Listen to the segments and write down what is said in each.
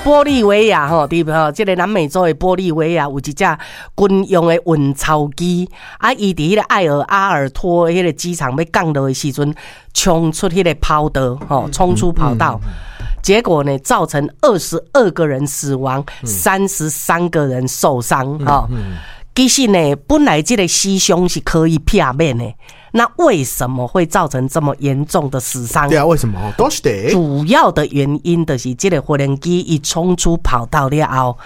玻利維亞吼，佇吼這个南美洲的玻利維亞有一隻軍用的運鈔機，啊，伊佇彼个艾爾阿爾托彼个機場欲降落的時陣，衝出彼个跑道，吼，衝出跑道。結果呢，造成22個人死亡，33個人受傷。吼，其實呢，本來這个死傷是可以避免的，那為什麼會造成這麼嚴重的死傷？對啊，為什麼？どうして主要的原因就是這个飛行機伊衝出跑道了後，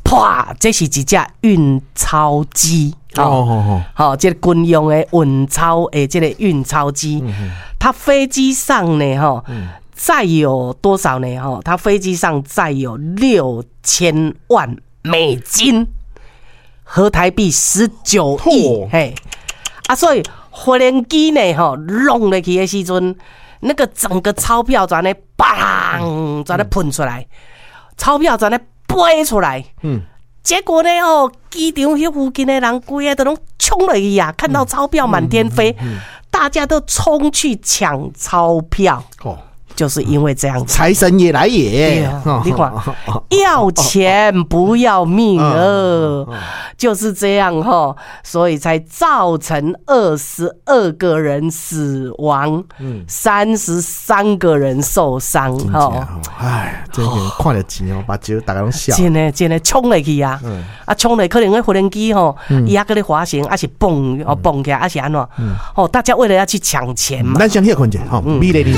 啪！這是一隻運鈔機。哦，好，這个軍用的運鈔的這个運鈔機，它飛機上呢，吼，載有多少呢？吼，它飛機上載有6000萬美金，合台幣19億。嘿，啊，所以飛行機呢，吼，挵落去的時陣，那個整個鈔票就按呢，砰，就按呢噴出來，鈔票就按呢飛出來。結果呢，哦，機場彼附近的人規个都攏衝落去啊，看到鈔票滿天飛，大家都衝去搶鈔票。哦。就是因為這樣子，財神爺來也，你看，要錢不要命哦，就是這樣哈，所以才造成22個人死亡，33個人受傷哈。唉，真的看著錢哦，目睭逐家攏痟。真的真的衝落去啊！啊，衝落可能彼飛行機吼，伊猶閣咧滑行，抑是蹦哦蹦起來，抑是按怎？哦，大家為了要去搶錢嘛。咱先歇睏者，吼，美麗人生。